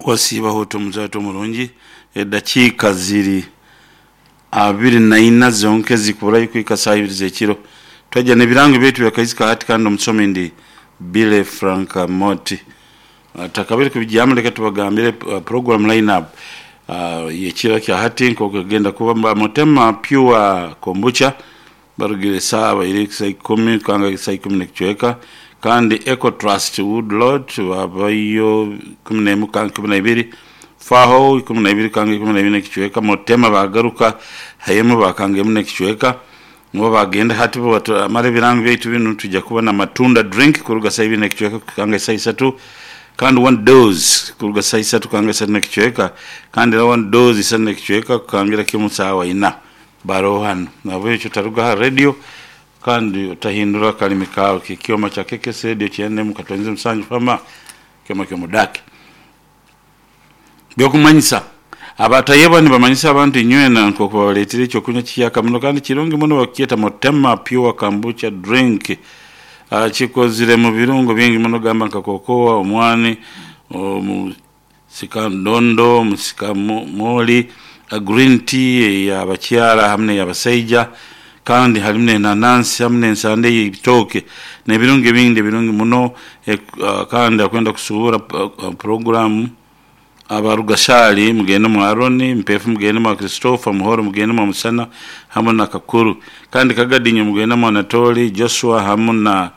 Wasiibaho ota omuzaata omurungi? Edakiika ziri 24 zonka ezikuburayo kuhika saaha ibiri z'ekiro. Twaija n'ebirango byaitu byakaizi ka hati kandi omusomi ndi Billy Frank Moti. Tutakabire kubigyamu leka tubagambire program line up y'ekiro kya hati nk'oku egenda kuba. Mutema Pure Kombucha Barugire esaawa iri sa ikumi kukanga sa ikumi n'ekicweka, kandi Eco Trust Wood Lot baabayo 11 kukanga 12, Faho 12 kukanga 12 n'ekicweka, Motema baagaruka haemu baakanga emu n'ekicweka, nibo baagenda. Hati bwebatamara ebirango byaitu binu twija kuba na Matunda Drink kuruga saa ibiri n'ekicweka kukanga saa isatu, kandi One Dose kuruga saa isatu kukanga isatu n'ekicweka, kandi era One Dose isatu n'ekicweka kukangira kimu saawa ina. Baroho hanu. Nahabwekyo otaruga aha radio kandi otahindura akalimi kaawe k'ekyoma kya KKS Radio 97.7 Fama, ekyoma ky'omudaaki. By'okumanyisa, Abatayebwa nibamanyisa abantu inywena nk'oku babaleetire eky'okunywa kihyaka muno kandi kirungi muno bakukyeta Motema Pure Kombucha Drink. Kikozire mu birungo bingi muno gamba nka kokoa, omwani, Sika ndondo, musika mooli, green tea ey'abakyara hamu n'ey'abasaija kandi harimu n'enanansi hamu n'ensande ey'ebitooke n'ebirungo ebindi ebirungi muno kandi akwenda kusuubura puroguramu aba Rugashaali mugende mwa Aroni, Mpeefu mugende mwa Christopher, Muhoro mugende mwa Musana hamu na Kakuru kandi Kagadi inywe mugende mwa Anatoli, Joshua hamu na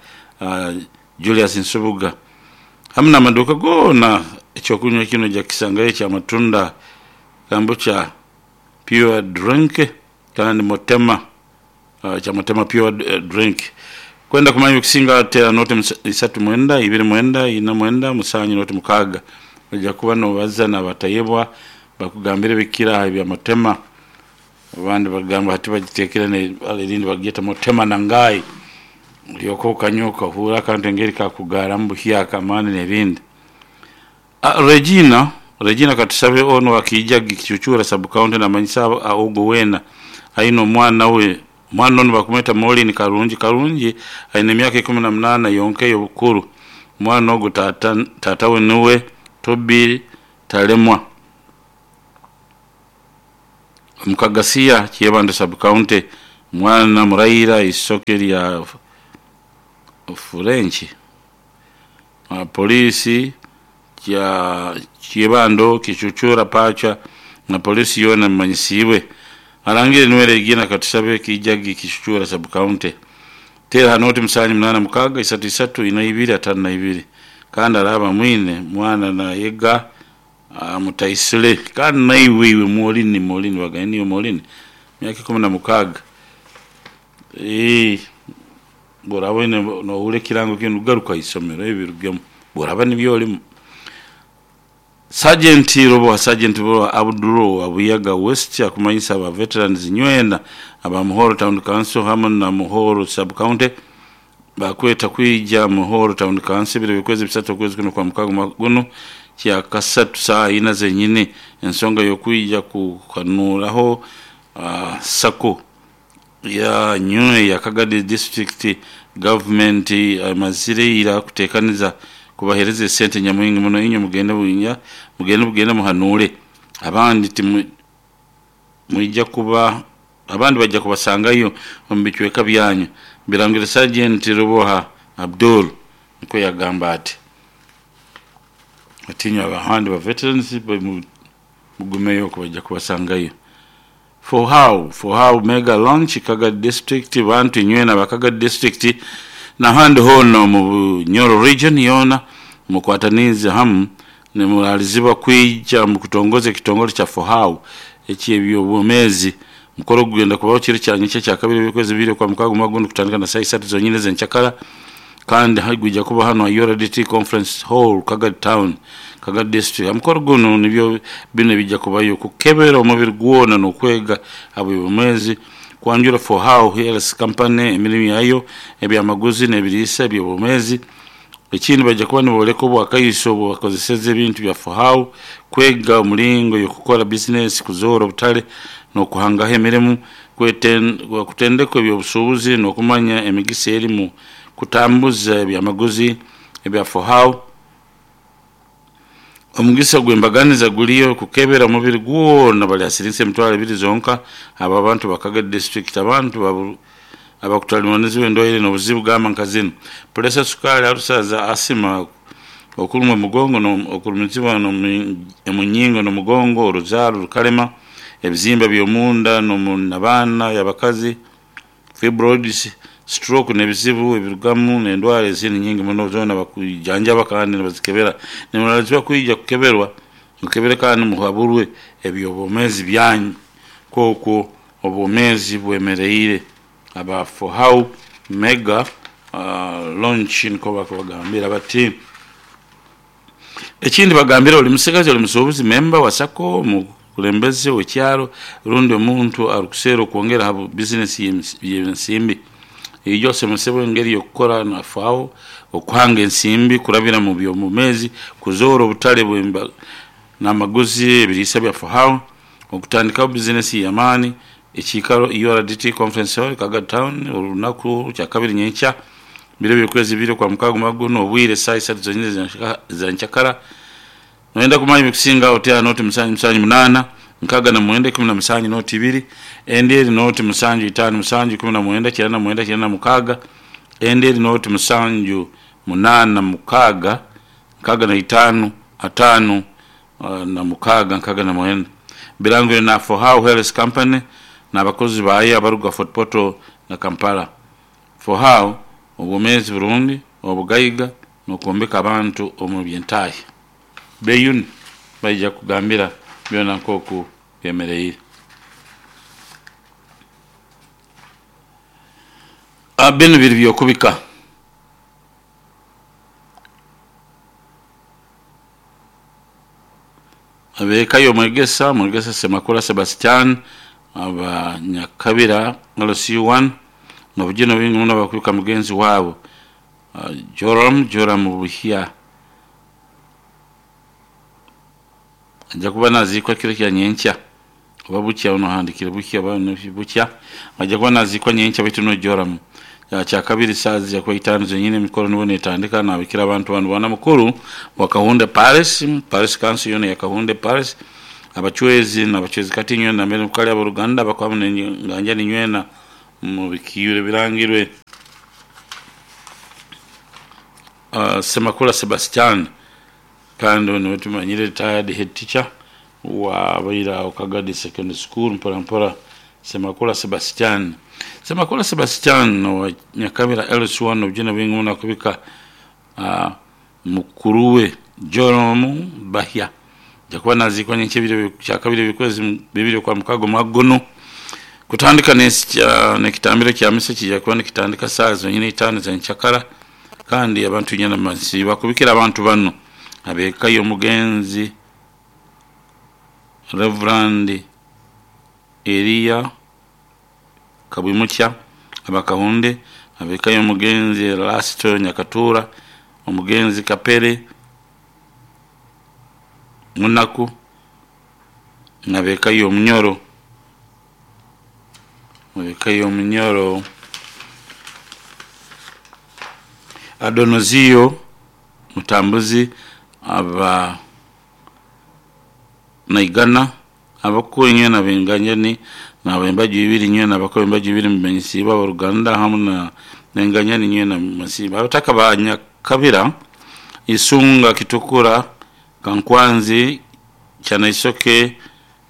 Julius Nsubuga hamu n'amaduuka goona eky'okunywa kinu oija kukisangayo ekya matunda kambucha pure drink kandi Motema ekya Motema pure drink. Kwenda kumanya ebikusinga teera nooti isatu mwenda, ibiri mwenda, ina mwenda, musanju nooti mukaaga. Oija kuba n'obaza n'abatayebwa bakugambire ebikukira aha ebya Motema. Abandi bagamba hati bagiteekere n'eibara erindi bagyeta Motema na Ngai. Olyoka okanywa okahuura akantu engeri kakugaaramu buhyaka amaani n'ebindi. Regina, Regina katusabe onu owa Kiijagi Kicucuura Sub County namanyisa ogwo weena aine omwana we, omwana onu bakumweta Maureen Karungi. Karungi aine emyaka 18 yonka ey'obukuru. Omwana ogwo taata taata we niwe Toby Talemwa. Omu Kagasiya, Kyebando Sub-County, mwana muraira eisoke lya Furenki. Poliisi kya Kyebando, Kicucura, Pacha na poliisi yoona emanyisiibwe. Arangire niwe Regina Katushabe, Kijagi, Kicucura Sub-County. Teera ha nooti musanju munaana mukaaga isatu isatu ina ibiri ataano na ibiri kandi araaba amwine mwana nayega Mutaisire kandi naiwe iwe Morini, Morini bagambye niiwe Morini? Myaka 16. Eeh bw'oraaba oine nohurra ekirango kinu garuka ha isomero ebirugemu bw'oraaba nibyo olimu. Sergeant Ruboha Sergeant Ruboha Abdul owa Buyaga West akumanyisa aba veterans nywena aba Muhoro Town Council hamu na Muhoro Sub County Baakweta kwija mu Horo Town Council ebiro by'okwezi bisatu okwezi kuno kwa mukaaga omwaka gunu, kyakasatu saaha ina zenyini. Ensonga y'okwija kuhanuuraho sacco yanyu eya Kagadi District Gavumenti emazire ira kutekaniza kubahereza esente nyamwingi muno inywe mugende bwinja mugende bugende muhanuure abandi timwija kuba Abandi baija kubasangayo omu bicweka byanyu, Birangire Sergeant Ruboha Abdul nikwo yagamba ati. Ati inywe abandi ba veterans mugumeyo okwo baija kubasangayo. For how? For how mega launch Kagadi district bantu inywena aba Kagadi district nahandi hoona omu Bunyoro region yoona mukwataniize hamu nimuraalizibwa kwija mukutongoza ekitongole kya For How eky'eby'obwomeezi. Omukoro ogu gugenda kubaho kiro kya nyenkya kyakabiri eby'okwezi bibiri Okwamukaaga omwaka guno kutandika na saaha isatu zonyini ez'enkyakara kandi gwija kuba hanu aha URDT Conference Hall, Kagadi Town, Kagadi District. Omukoro gunu nibyo binu ebija kubayo, kukebera omubiri gwona n'okwega habw'obwomeezi, kwanjura For How Health Company, emirimu yayo, ebyamaguzi n'ebiriisa eby'obwomeezi. Ekindi baija kuba nibooleka obwakaiso obu bakozeseze ebintu bya FOHAU kwega omulingo y'okukora bizinesi, kuzoora obutale n'okuhangaho emirimo, kutendekwa eby'obusuubuzi n'okumanya emigisa eri mu kutambuza ebyamaguzi ebya FOHAU. Omugisa gw'embaganiza guliyo kukebera omubiri gwona bali ha siringi 20,000 zonka. Abo abantu ba Kagadi district abantu abakutalibanizibwa endwaire n'obuzibu gamba nka zinu: puresa, sukaali, alusa, asima, okurumwa omugongo, okurumizibwa omunyingo n'omugongo, oruzaaro rukalema, ebizimba by'omunda n'omunabaana y'abakazi, fibroids, stroke n'ebizibu ebirugamu n'endwara ezindi nyingi muno zoona bakujanjaba kandi nibazikebera. Nimuraalikibwa kwija kukeberwa, mukebere kandi muhaburwe eby'obwomeezi byanyu nk'oku obwomeezi bwemereire. Aba Fohau Mega Launch nikwo bakubagambira bati. Ekindi bagambire oli musigazi, oli musuubuzi, memba wa SACCO, omukulembeze w'ekyaro rundi omuntu arukuserra okwongera ha bizinesi y'ensimbi. Ijo osomesebwe engeri y'okukora na FAO okuhanga ensimbi kurabira mu by'obwomeezi, kuzoora obutale n'amaguzi ebiriisa bya FAO, okutandikaho bizinesi y'amaani, ekiikaro URDT Conference Hall, Kagadi Town, orunaku Kyakabiri nyenkya biro by'okwezi ibiri Okwamukaaga omwaka gunu obwire saaha isatu zonyini za nkyakara. Noyenda kumanya ebikusingaho oti noti musanju musanju munaana nkaaga na mwenda ikumi na musanju noti ibiri endi eri noti musanju itaanu musanju ikumi na mwenda kyenda na mwenda kyenda na mukaaga endi eri noti musanju munaana mukaaga nkaaga na itaanu ataanu na mukaaga nkaaga na mwenda. Birangirwe na For How Health Company n'abakozi baayo abaruga Fort Portal na Kampala. For How obwomeezi burungi, obugaiga n'okwombeka abantu omu by'entahya. Beyune baija kugambira byona nk'oku byemereire. Binu biri by'okubika. Ab'eka y'omwegesa, Mwegesa Ssemakula Sebastian aba Nyakabira LC1 n'obujune bwingi muno bakubika mugenzi waabo Joram Joram Buhya. Aija kuba naziikwa kiro kya nyenkya oba bukya nohandikire bukya oba bukya aija kuba naziikwa nyenkya baitu no Joram Kyakabiri saaha zija kuba itaanu zenyini emikoro nibwo netandika nabikira abantu banu boona mukuru wa Kahunde Parish, Parish Council yoona eya Kahunde Parish, abachwezi nabachwezi kati inywena nambere mukali aboruganda abakwamu nenganjani inywena mubikiire birangirwe. Ssemakula Sebastian kandi onu tumanyire retired head teacher wabaire agho Kagadi Secondary School mpora mpora Ssemakula Sebastian. Ssemakula Sebastian owa Nyakabira LC1 obujune bwingi muno akubika mukuru we Joram Bahya aja kuba naziikwa nyenkya ebiro Kyakabiri eby'okwezi bibiri Okwamukaaga omwaka gunu kutandika n'ekitambiro kya misa kija kuba nikitandika saaha zonyini itaanu za nkyakara kandi abantu inywena masiiba kubikira abantu banu ab'eka y'omugenzi Rev. Elia Kabwimukya aba Kahunde, ab'eka y'omugenzi Erasto Nyakatura, omugenzi Kapere Munaku n'ab'eka y'Omunyoro, ab'eka y'Omunyoro Adonozio Mutambuzi aba Naigana, abakuru inywena ab'enganjani n'ab'embaju ibiri inywena abakuru b'embaju ibiri mumanyisiibwe ab'oruganda hamu n'enganjani inywena mumanyisiibwe. Abataka ba Nyakabira, Isunga, Kitukura, Kankwanzi, Kyanaisoke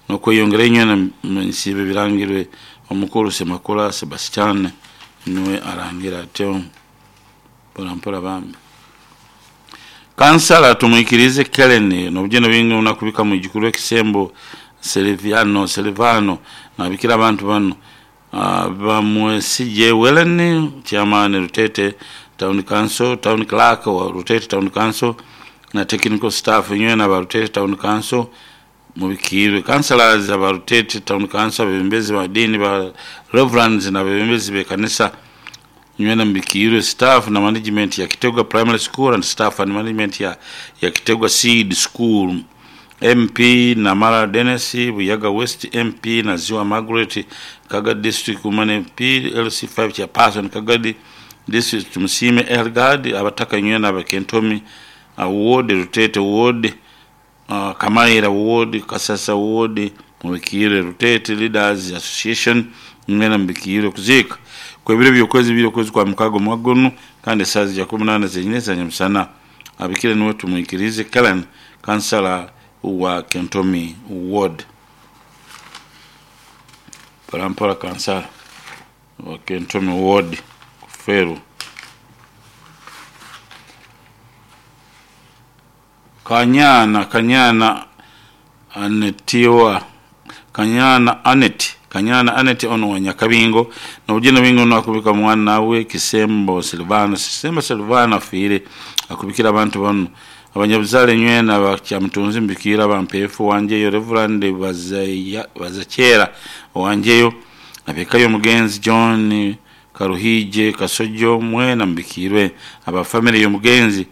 n'okweyongerayo inywena mumanyisiibwe ebirangirwe omukuru Ssemakula Sebastian niwe arangira atyo mpora mpora bambi. Kansala Tumwikirize Kellen n'obujune bwingi muno akubika mwijukuru we Kisembo Seliviano Selivano nabikira abantu banu Bamwesigye Wellen Chairman Rutete Town Council, Town Clerk wa Rutete Town Council na technical staff inywena aba Rutete Town Council mubikiirwe. Councillors aba Rutete Town Council, abebembezi ba diini ba Reverends n'abebembezi b'ekanisa inywena mubikiirwe. Staff na management ya Kitegwa Primary School and staff and management ya Kitegwa Seed School. MP Namara Dennis Buyaga West MP Naziwa Margaret Kagadi District Woman MP LC5 Chairperson Kagadi District Tumusiime Elgard abataka inywena abakentomi Ward Rutete Ward. Kamaira Ward, Kasasa Ward mubikiirwe, Ruteete Leaders Association mwena mubikiirwe. Okuziika kw'ebiro by'okwezi ibiri okwezi kwa mukaaga omwaka gunu kandi esaaha zija kuba munaana zenyini eza nyamusana. Abikire niwe Tumwikiriize Kellen, kansala wa Kentomi Ward. Mpola mpola kansala wa Kentomi Ward kufeerwa. Kanyana Kanyana Anetiwa Kanyana Annet Kanyana Annet ono wa Nyakabingo n'obugina bwingi ono akubika mwana we Kisembo Silvano. Kisembo Silvano afiire akubikira abantu bano abanyabuzaale nywena aba Kyamutunzi Mbikiire aba Mpeefu Wanjeyo Rev Bazakyera Owanjeyo ab'eka y'omugenzi John Karuhije Kasojo mwena mubikiirwe aba famire y'omugenzi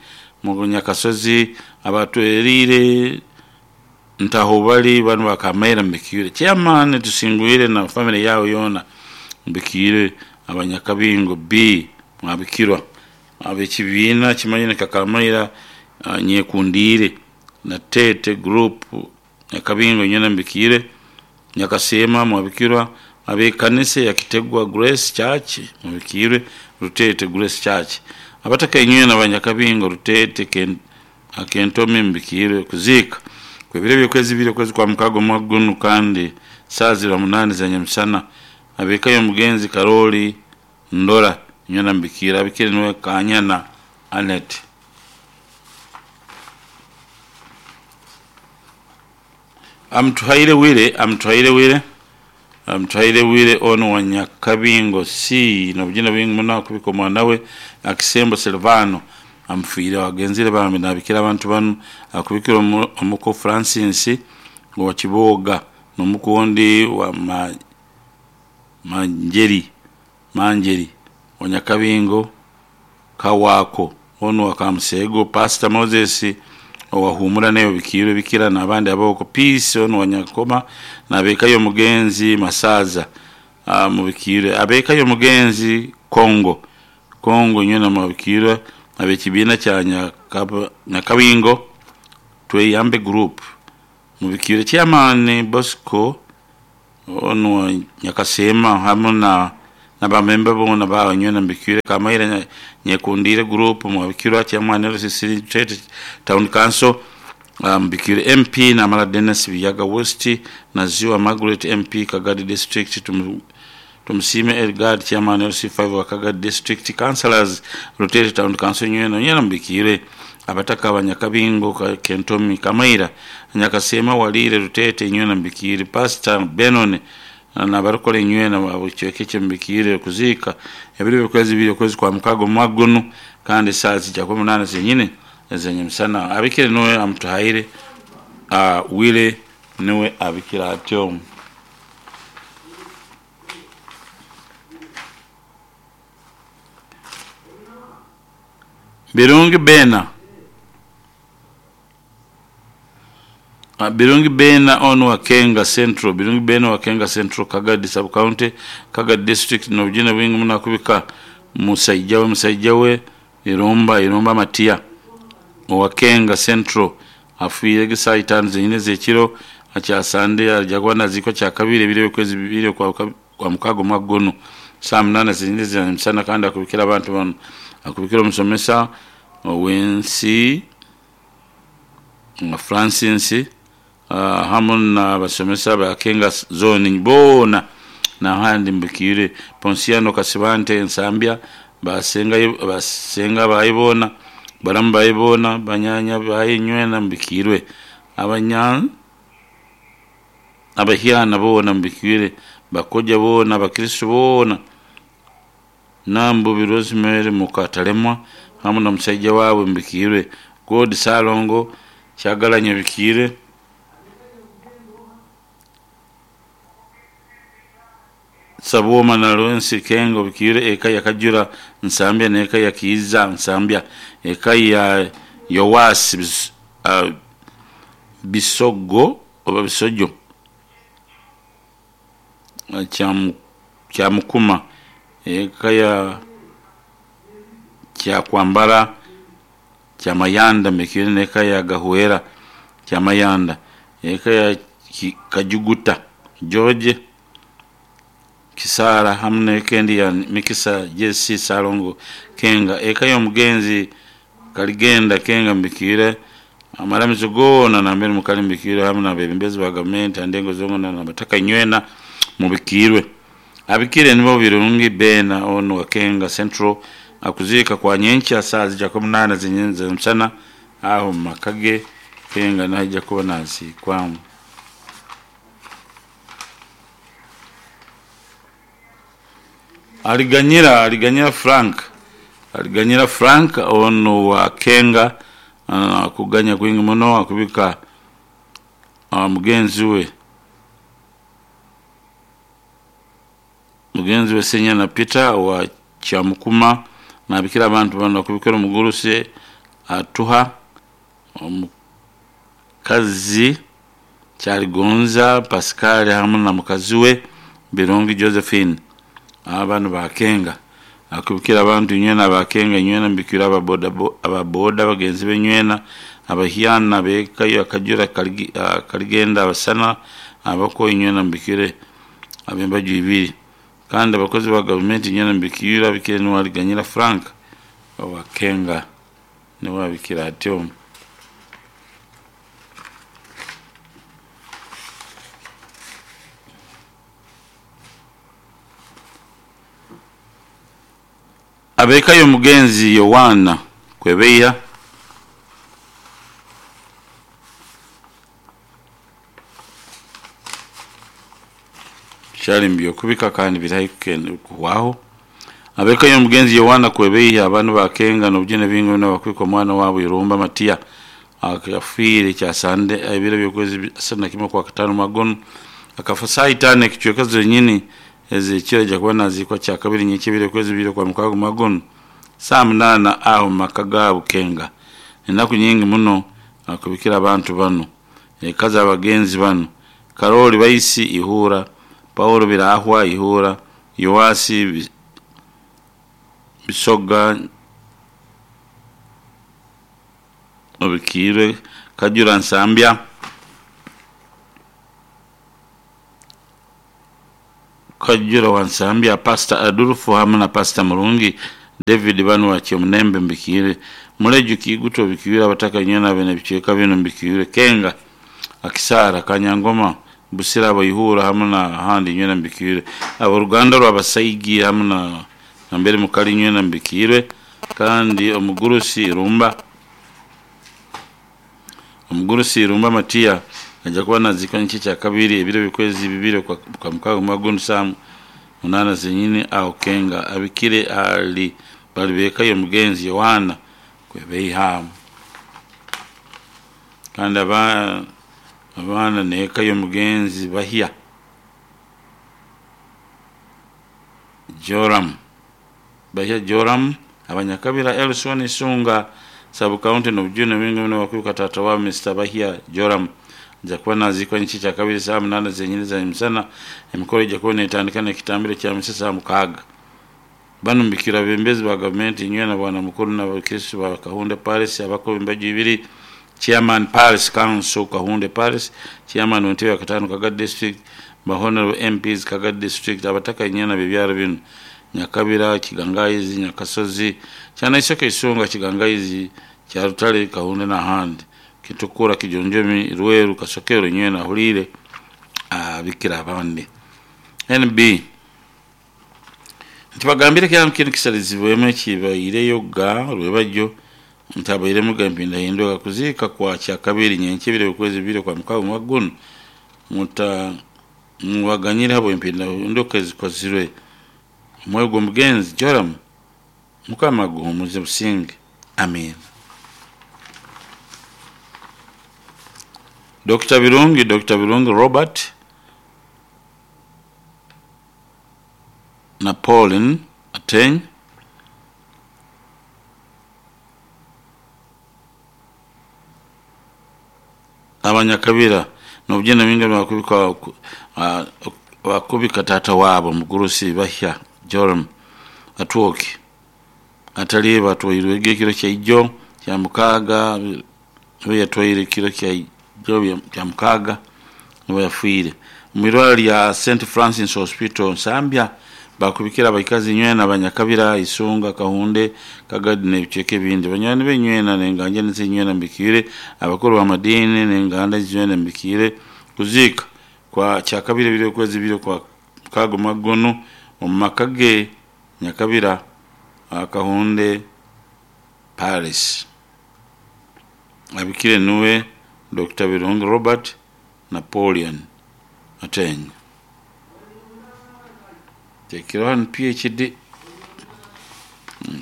Nyakasozi abatwereire Ntahobali bano ba Kamaira mubikiirwe Chairman Tusingwire na famire yawe yoona mubikiirwe aba Nyakabingo B mwabikirwa ab'ekibiina kimanyire nka Kamaira Nyekundiire na Teete Group Nyakabingo nywena mubikiirwe Nyakaseema mwabikirwa ab'ekanisa ya Kitegwa Grace Church mubikiirwe Ruteete Grace Church abataka inywena aba Nyakabingo Ruteete Kentomi mubikiirwe. Okuziika kw'ebiro by'okwezi ibiri okwezi kwa mukaaga omwaka gunu kandi saaha ziriba munaana eza nyamusana ab'eka y'omugenzi Karoli Ndora nywena mubikiirwe. Abikire niwe Kanyana Annet. Amutuhaire Wire Amutuhaire Wire Amutuhaire Wire ono wa Nyakabingo C n'obugina bwingi muno akubika omwana we Akisembo Silvano amufiireho. Agenzire bambi nabikira abantu bano akubikira omuko Francis owa Kibooga n'omuko ondi wa Manjeri Manjeri owa Nyakabingo Kawaako onu owa Kamuseego, Pasita Moses owa Huumura naye obikiirwe Bikira n'abandi ab'okwo, Peace onu owa Nyankoma n'ab'eka y'omugenzi Masaaza mubikiirwe, ab'eka y'omugenzi Kongo Kongo inywena mwabikiirwe, ab'ekibiina kya Nyakabingo Tweyambe Group mubikiirwe, Chairman Bosco onu wa Nyakaseema hamu na bamemba boona baawe nywena mubikiirwe, Kamaira Nyekundiire Group mwabikirwa, Chairman LCC Trade Town Council mubikiirwe, MP Namara Dennis Biyaga West na Ziwa Margaret MP Kagadi District Tumusiime Elgard Chairman LC5 wa Kagadi District, Councillors Ruteete Town Council nywena nywena mubikiirwe, abataka aba Nyakabingo Kentomi Kamaira Nyakaseema Waliire Ruteete nywena mubikiirwe, Pastor Benon n'abarikora enywena ekicweka ekyo mubikiirwe. Okuziika ebiro by'okwezi ibiri okwezi kwa mukaaga omwaka gunu kandi esaaha zija kuba munaana zenyini ez'enyamusana. Abikire niwe amutuhaire Willy niwe abikire atyo. Birungi Bena Birungi Bena ono wa Kenga Central Birungi Bena wa Kenga Central Kagadi Sub County Kagadi District n'obugina bwingi muno akubika musaija we musaija we Irumba Irumba Matia owa Kenga Central afiire egi saaha itaanu zenyini ez'ekiro akya Sande aija kuba naziikwa kyakabiri ebiro by'okwezi bibiri okwa mukaaga omwaka gunu saaha munaana zenyini ez'emisana kandi akubikira abantu bano akubikira omusomesa ow'ensi Francis hamu n'abasomesa ba Kenga Zone boona n'ahandi mubikiire Ponsiano Kasibante Nsambya basenga baye boona baramu baye boona banyanya baye nywena mubikiirwe abahyana boona mubikiirwe bakoja boona abakristo boona Nambubi Rosemary Mukatalemwa hamu n'omusaija waabwe mubikiirwe God Ssalongo Kyagalanyi obikiirwe Sabwoma na Lawrence Kenga obikiirwe eka ya Kajura Nsambya n'eka ya Kiiza Nsambya eka ya Yowasi Bisogo oba Bisojo Kyamukuma eka ya Kyakwambara Kyamayanda mubikiirwe n'eka ya Gahwera Kyamayanda, eka ya Kajuguta George Kisaara hamu n'eka endi ya Mikisa JC Ssalongo Kenga, eka y'omugenzi Kaligenda Kenga Mbikiire, amaramizo goona nambere mukali mubikiirwe hamu n'abeebembezi ba gavumenti ha ndengo zoona n'abataka inywena mubikiirwe. Abikire nibo Birungi Bena onu wa Kenga Central akuziika kwa nyenkya saaha zija kuba munaana z'emisana aho omu maka ge Kenga naija kuba naziikwamu. Aliganyira Aliganyira Frank Aliganyira Frank onu wa Kenga akuganya kwingi muno akubika mugenzi we Senyana Peter wa Kyamukuma nabikira abantu banu akubikira omugurusi atuha omukazi Kyaligonza Pascal hamu na mukazi we Birungi Josephine banu ba Kenga akubikira abantu inywena ba Kenga inywena mbikira ababoda bagenzi be inywena abahyana bekayo akajura kaligenda abasana abako inywena mbikire abembaju ibiri kandi abakozi ba gavumenti inywena mbikira abikire niwe Aliganyira Frank owa Kenga niwe abikira atyo. Abekayo omugenzi Yowana Kwebeya kyali mubyokubika kandi biri kuhwaho. Abekayo omugenzi Yowana Kwebeya abanu ba Kenga n'obujune bingi muno bakubika omwana waabo Irumba Matiya afiire kyasande ebiro by'okwezi 31 kwa katano magono akafa saa itaano ekicweka zenyini ezekiro aija kuba naziikwa kyakabiri nyenkya ebiro okwezi bibiri kwa mukaaga magono saa munaana aho mumaka gaabo Kenga. Enaku nyingi muno akubikira abantu banu eka z'abagenzi banu Karoli Baisi Ihura, Paulo Birahwa Ihura, Yoasi Bisoga Obikiirwe, Kajura Nsambya, Kajura wa Nsambya, Pastor Adolfo hamu na Pastor Murungi David banu wa Kyomunembe mbikiire, Muleju Kiguto obikiire, abataka inywena bene ebicweka binu mbikiire, Kenga Akisaara Kanyangoma Busira Abaihura hamu na handi inywena mbikiire, aboruganda rw'abasaigi hamu na nambere mukali inywena mbikiirwe, kandi omugurusi Irumba Matiya aija kuba naziikwa nyenkya kyakabiri ebiro by'okwezi bibiri kwa mukaaga magono saa munaana zenyini aho Kenga. Abikire ali bali bekayo omugenzi Yohana Kwebeiha kandi abaana n'eka y'omugenzi Bahya Joram Bahya Joram abanyakabira Elson Isunga sub county n'obujune bwingi muno bakubika taata wa Mr Bahya Joram aija kuba naziikwa nyenkya kyakabiri saa munaana zenyini za misana. Emikoro ija kuba netandika n'ekitambiro kya misa saa mukaaga. Banu mbikira abebembezi ba gavumenti inywena bwana mukuru n'abakristu ba Kahunde Parish abako embaju ibiri Chairman Parish Council Kahunde Parish, Chairman w'entebe ya katano Kagadi District, ba Honorable MPs Kagadi District, abataka inywena b'ebyaro binu Nyakabira, Kigangayizi, Nyakasozi, Kyanaiseke Isunga, Kigangayizi, Kyarutale, Kahunde n'ahandi, Kitukura, Kijonjomi, Rweru, Kasokero inywena ahuliire abikira abandi. NB ntibagambire kyamu kinu kisalizibwemu ekibaireyo ga rwebajyo ntabairemu ga empindahinduka kuziika kwa kyakabiri nyenkya ebiro okwezi bibiri kwa mukaaga magono muta muwaganyire habo empindahinduka ezikozirwe omwoyo gw'omugenzi Joram Mukama aguhumuze businge. Amin. Dr. Birungi Robert na Pauline Ateny abanyakabira n'obujune bingi bakubika taata waabo mugurusi Bahya Joram Atwoki ataliiba atwairwege ekiro kyaijo kya mukaaga we yatwaire ekiro kya biro bya mukaaga nubwo yafiire omu irwarro lya St Francis Hospital Nsambya. Bakubikira abaikazi nywena Abanyakabira, Isunga, Kahunde, Kagadi n'ebicweka ebindi. Banywani be nywena n'enganjani ze nywena mbikiire, abakuru b'amadiini n'enganda zinywena mbikiire. Kuziika kwa Kyakabiri ebiro okwezi bibiri kwa mukaaga omwaka gunu omu maka ge Nyakabira, Kahunde, Paris. Abikire nuwe Dr. Birungi Robert Napoleon Ateenyi. Teekereho hanu PhD,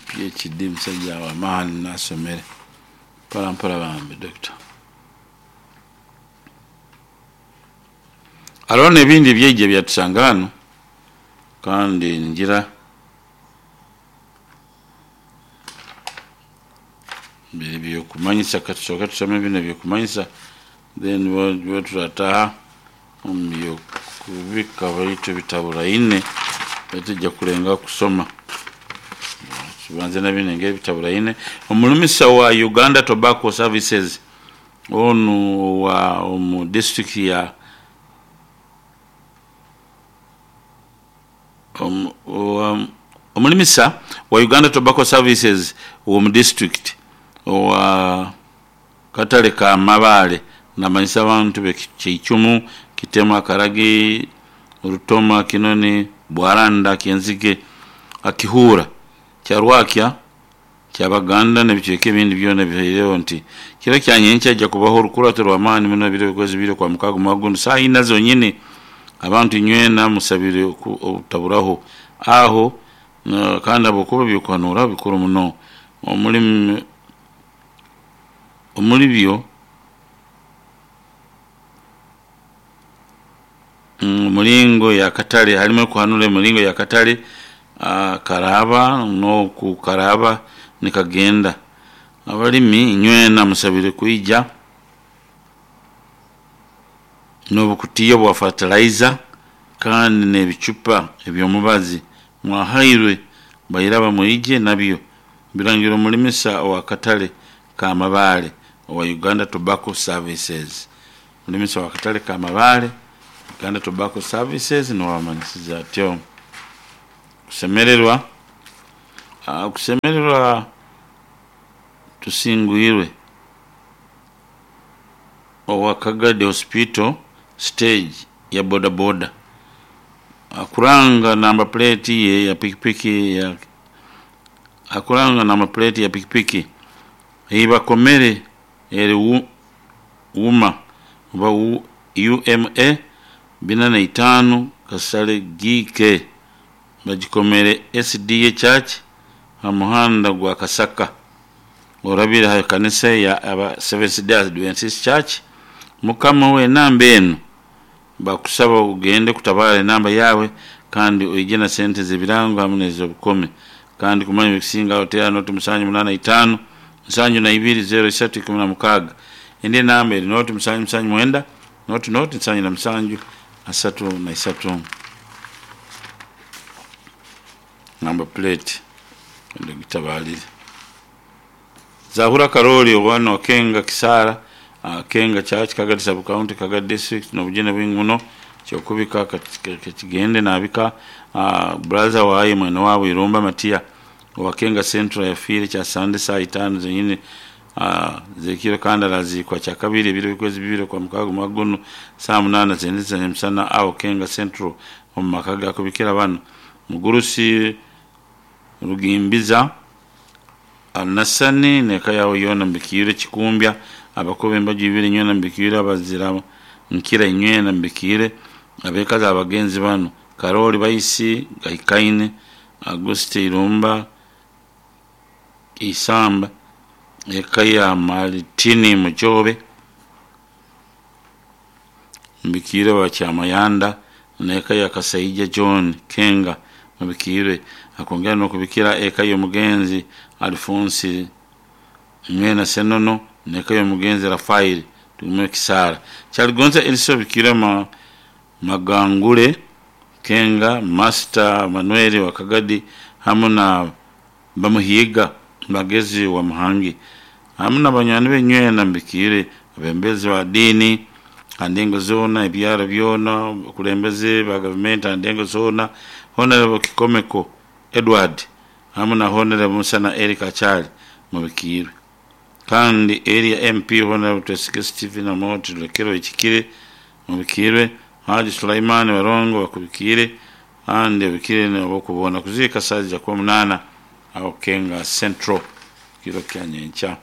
PhD musajja w'amaani nasomere mpora mpora bambi doctor. Haroho n'ebindi ebyaija byatusanga hanu kandi ningira biri by'okumanyisa katusooke tusome binu eby'okumanyisa then bwe turataaha omu by'okubika baitu ebitaburaine tujja kulengaho kusoma. Tubanze na binu engeri ebitaburaine. Omulimisa wa Uganda Tobacco Services onu owa omu disitulikiti ya omulimisa wa Uganda Tobacco Services ow'omu disitulikiti owa katale ka Mabaale namanyisa abantu be Kyeicumu, Kitema, Karagi, Rutoma, Kinoni, Bwaranda, Kyenzige, Akihuura, Kyarwakya, Kyabaganda n'ebicweka ebindi byona ebihaireho nti kiro kya nyenkya haija kubaho orukurato rw'amaani muno ebiro okwezi bibiri kwa mukaaga omwaka gunu saaha ina zonyini. Abantu inywena musabire obutaburaho aho kandi habwokuba eby'okuhanuraho bikuru muno. Omuli byo omulingo y'akatale harimu okuhanura emiringo y'akatale karaaba n'oku karaaba nikagenda. Abalimi inywena musabire kwija n'obukutiya bwa fertilizer kandi n'ebicupa eby'omubazi mwahairwe bairaba mwije nabyo. Birangirwe omulimisa ow'akatale ka Mabaale owa Uganda Tobacco Services. Omulimisa ow'akatale ka Mabaale Uganda Tobacco Services nuwe amanyisize atyo. Kusemererwa, kusemererwa tusingwirwe owa Kagadi Hospital stage ya boda boda akuranga namba plate ye ya pikipiki akuranga namba plate ya pikipiki eibakomere eri UMA oba UMA 45 Kasale GK bagikomere SDA Church ha muhanda gwa Kasaka orabire ha kanisa ya aba Seventh Day Adventist Church. Mukama w'enamba enu bakusaba ogende kutabara enamba yaawe kandi oije na sente z'ebirango hamu n'ez'obukome. Kandi kumanya ebikusingaho teera noti 785 72 03 16. Endi enamba eri noti 779 noti noti 77 33. Namba plate gitabalire. Zahura Karoli owano Kenga Kisara, Kenga Church, Kagadi Sub County, Kagadi District n'obujune bwingi muno kyokubika kigende nabika brother waye mwene waabo Irumba Matia owa Kenga Central yafiire kyasande saaha itaano zenyini zekiro kandi araziikwa kyakabiri ebiro by'okwezi bibiri kwa mukaaga omwaka gunu saaha munaana z'endeza nyamusana aho Kenga Central omu maka ga kubikira banu. Mugurusi Rugimbiza Nasani n'eka yawe yoona mbikiire Kikumbya abakuba embaju ibiri nywena mbikiire abazira nkira inywena mbikiire abekazi abagenzi banu Karoli Baisi Gahikaine Auguste Irumba Isamba eka ya Maritini Mujobe mbikiire wa Kyamayanda n'eka ya Kasaija John Kenga mubikiire akongera n'okubikira eka y'omugenzi Alphonse Nywena Senono n'eka y'omugenzi Rafael Tumuhe Kisara. Kyaligonza Elisa Bikira Magangule Kenga Master Manuel wa Kagadi hamu na Bamuhiga Magezi wa Muhangi hamu na banywani be nywena mbikiire Abebembezi ba diini ha ndengo zoona, ebyaro byona, abakulembeze ba gavumenti ha ndengo zoona, Honorable Kikomeko Edward hamu na Honorable Musana Eric Achali mubikiirwe. Kandi area MP Honorable Twesige Stephen Amooti Lulekero Ekikire mubikiirwe, Haji Sulaiman Barongo bakubikiire kandi obikiire n'abokuboona kuziika saaha ja kuba munaana awo Kenga Central kiro kya nyenkya.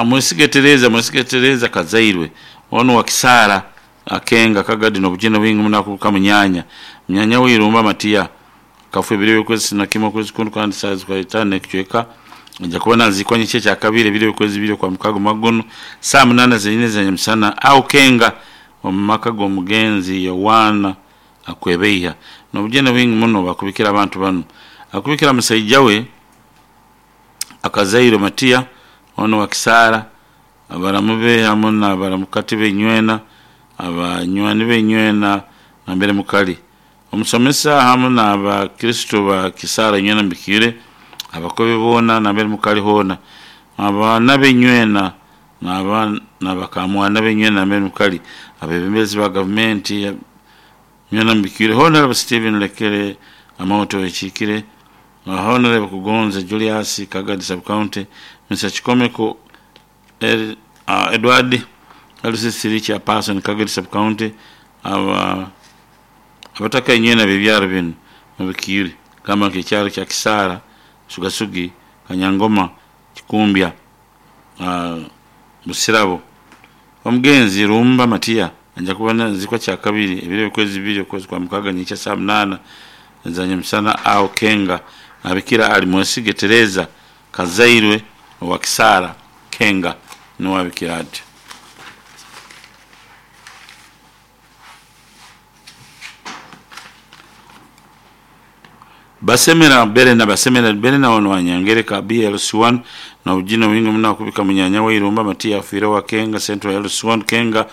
Mwesige Tereza, Mwesige Tereza Kazairwe onu wa Kisaara Akenga Kagadi n'obujune bwingi muno akubuka munyanya. Munyanya we Irumba Matiya kafa ebiro by'okwezi na kimwe okwezi kunu kandi saaha zikaba itaano n'ekicweka aija kuba naziikwa nyenkya ekyakabiri ebiro by'okwezi bibiri okwa mukaaga omwaka gunu saaha munaana zenyini eza nyamusana aho Kenga omu maka g'omugenzi Yowaana Akwebeiha. N'obujune bwingi muno bakubikira abantu banu. Akubikira musaija we Akazairwe Matiya onu wa Kisaara, abaramu be hamu n'abaramukati be inywena, abanywani be inywena nambere mukali. Omusomesa hamu n'abakristo ba Kisaara inywena mubikiire, abakobi boona nambere mukali hoona, abaana be inywena n'abakamwana be inywena nambere mukali, abebembezi ba gavumenti inywena mubikiire, Honorable Stephen Lekere Amooti Owekiikire, Honorable Kugonza Julius Kagadi Sub-County, Mr. Kikomeko Edward LC3 Chairperson Kagadi Sub-County, abataka inywena ab'ebyaro binu mubikiire gamba nk'ekyaro kya Kisaara, Sugasugi, Kanyangoma, Kikumbya, Busirabo. Omugenzi Rumba Matiya aija kuba naziikwa kyakabiri ebiro by'okwezi bibiri okwezi kwa mukaaga nyenkya saaha munaana eza nyamusana aho Kenga abikira ali Mwesige Tereza Kazairwe owa Kisaara Kenga nuwe abikira atyo. Basemera Berena, Basemera Berena ono wa Nyangereka BLC1 n'obujune bwingi muno akubika munyanya we Irumba Matiya afiire owa Kenga Central LC1 Kenga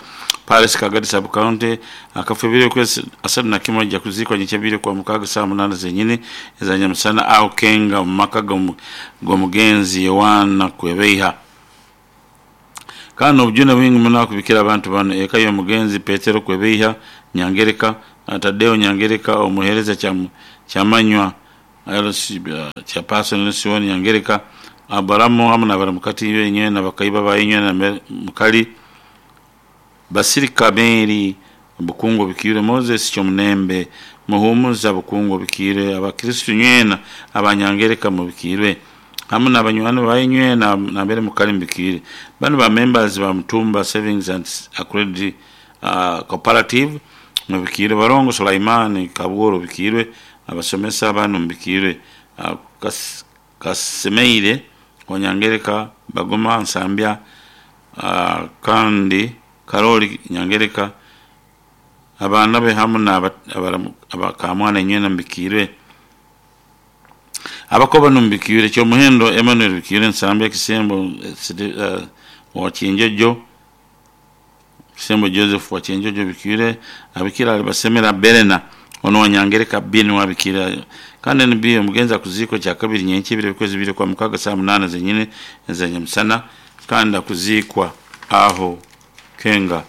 Paris Kagadi Sub-County akafa ebiro by'okwezi asatu na kimwe aija kuziikwa nyenkya bibiri okwa mukaaga saaha munaana zenyini eza nyamusana aho Kenga omu maka g'omugenzi Yowaana Kwebeiha. Kandi n'obujune bwingi muno akubikira abantu banu eka y'omugenzi Petero Kwebeiha Nyangereka, Tadeo Nyangereka omuheereza Kyamanywa Chairperson LC1 Nyangereka, Abaramu hamu n'abaramukati be inywena bakaiba ba inywena mukali, Basirika Mary Bukungu Obikiire, Moses Kyomunembe Muhumuza Bukungu Obikiire, Abakristo inywena abanyangereka mubikiirwe hamu n'abanywani ba inywena nambere mukali mubikiire. Banu ba members ba Mutumba Savings and Credit Cooperative mubikiirwe, Barongo Sulaiman Kabworo obikiirwe, abasomesa banu mubikiirwe, Kasemeire wa Nyangereka, Bagoma Nsambya kandi Karoli Nyangereka, abaana be hamu n'abakamwana inywena mubikiirwe. Abako banu mubikiirwe, Kyomuhendo Emmanuel Bikiirwe Nsambya Kisembo wa Kinjojo, Kisembo Joseph wa Kinjojo Bikiirwe, abikira ali Basemera Berena ono wa Nyangereka B niwe abikira. Kandi NB omugenzi akuziikwa kyakabiri nyenkya ebiro by'okwezi bibiri okwa mukaaga saaha munaana zenyini eza nyamusana kandi akuziikwa aho Kenga.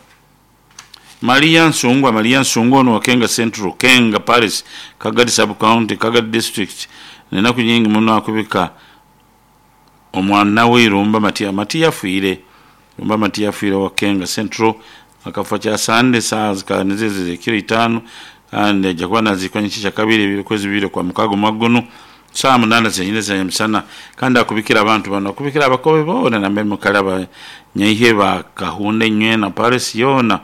Maria Nsungwa, Maria Nsungwa ono wa Kenga Central, Kenga Paris, Kagadi Sub-County, Kagadi District, n'enaku nyingi muno akubika omwana we Irumba Matiya. Matiya afiire, Irumba Matiya afiire owa Kenga Central, akafa kyasande saaha zikaba nizo ez'ekiro itaano kandi aija kuba naziikwa nyenkya kyakabiri ebiro by'okwezi bibiri okwa mukaaga omwaka gunu saaha munaana zenyini eza nyamusana kandi akubikira abantu banu, akubikira abakobe boona nambere mukali abanyaihe ba Kahunda inywena Paris yoona,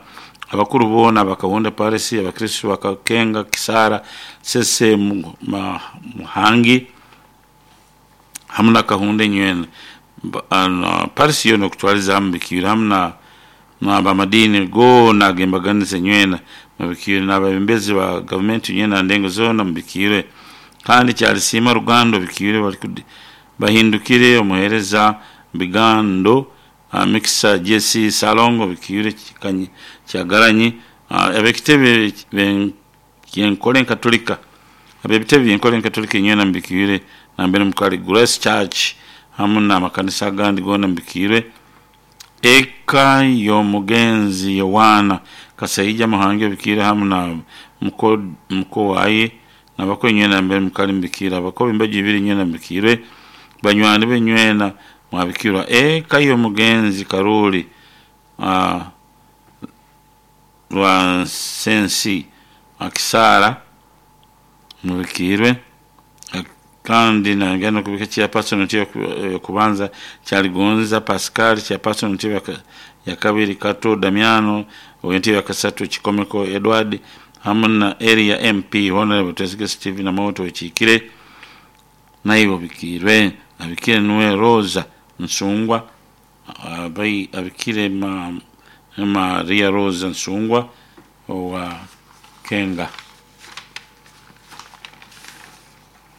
abakuru boona aba Kahunda Paris, abakristo ba Kenga, Kisaara, Sese, Muhangi hamu na Kahunda inywena. Paris yoona okutwaliza hamu mubikiire hamu n'abamadiini goona ag'embaganiza inywena mubikiire n'abebembezi ba gavumenti inywena ha ndengo zoona mubikiire. Kandi Kyalisiima Rugando bikiire bahindukire omuheereza Bigando Mikisa JC Salongo bikiire Kyagalanyi ab'ekitebe ky'enkole Nkatolika ab'ebitebe by'enkole Nkatolika inywena mubikiire nambere mukali Grace Church hamu n'amakanisa agandi goona mubikiirwe. Eka y'omugenzi Yowaana Kasaija Muhangi obikiire hamu na muko waye nabako inywena mbere mukali mubikire, abako b'embaju ibiri inywena mubikirwe, banywani be inywena mwabikirwa. Eka y'omugenzi Karoli Rwansensi Akisaara mubikirwe, kandi nagenda okubika chairperson entebe yokubanza Kyaligonza Pascal, chairperson entebe ya kabiri Kato Damiano, ow'entebe yakasatu Kikomeko Edward, hamu na area MP Honorable Twesige Stephen Amooti okiikire naiwe obikiirwe. Abikire nuwe Rosa Nsungwa, abikire Maria Rosa Nsungwa owa Kenga.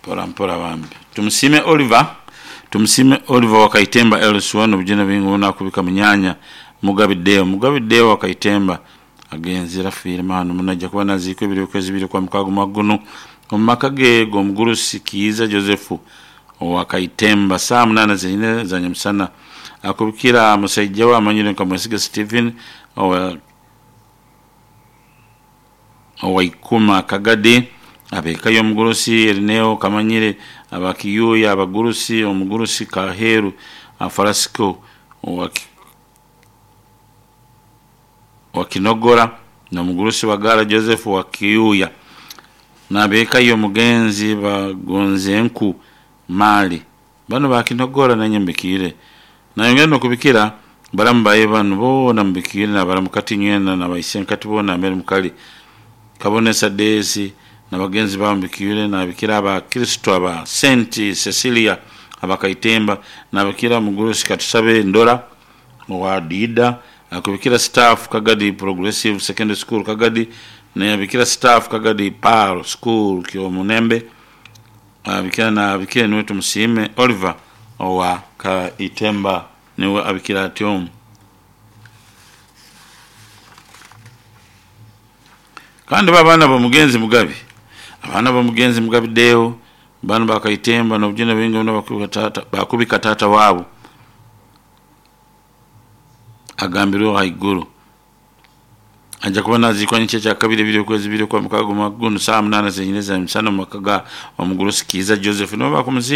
Mpora mpora bambi. Tumusime Oliver, tumusime Oliver Wakaitemba LC1 obujune bwingi bunakubika munyanya Mugabideo, Mugabideo Wakaitemba agenzera afiire mahano muno, ajja kuba naziikwa ebiri okwezi biri kwa mukaaga omwaka guno omu maka ge g'omugurusi Kiiza Joseph owa Kaitemba saa 8 zenyine za nyamusana. Akubikira musaija we amanyire nka Mwesiga Stephen owa Ikuma Kagadi, ab'eka y'omugurusi Erineo Kamanyire, abakiyuya abagurusi, omugurusi Kaheru Farasiko wa Kinogora n'omugurusi Wagara Joseph wa Kiyuya, n'ab'eka y'omugenzi Bagonzenku Mali. Banu bakinogora nanye mbikiire. Nayongera n'okubikira baramu baye banu boona mubikire, nabaramukati inywena nabaisenkati boona mbere mukali Kabonesa Desi nabagenzi baabo mubikire, nabikira abakristo aba St Cecilia abakaitemba, nabikira omugurusi Katusabe Ndora owa Dida, akubikira staff Kagadi Progressive Secondary School Kagadi, nabikira staff Kagadi Pearl School Kyomunembe, abikira na abikire niwe Tumusiime Oliver owa Kaitemba niwe abikira atyo. Kandi abaana b'omugenzi Mugabi, abaana b'omugenzi Mugabi Deo banu bakaitemba n'obujune bwingi muno bakubika taata waabo agambirweho haiguru. Ajja kuba naziikwa nyenkya kyakabiri ebiri okwezi biri kwa mukaaga omwaka guno saa 8 zenyine za misana omu maka ga omugurusi Kiiza Joseph nibo bakumuziika.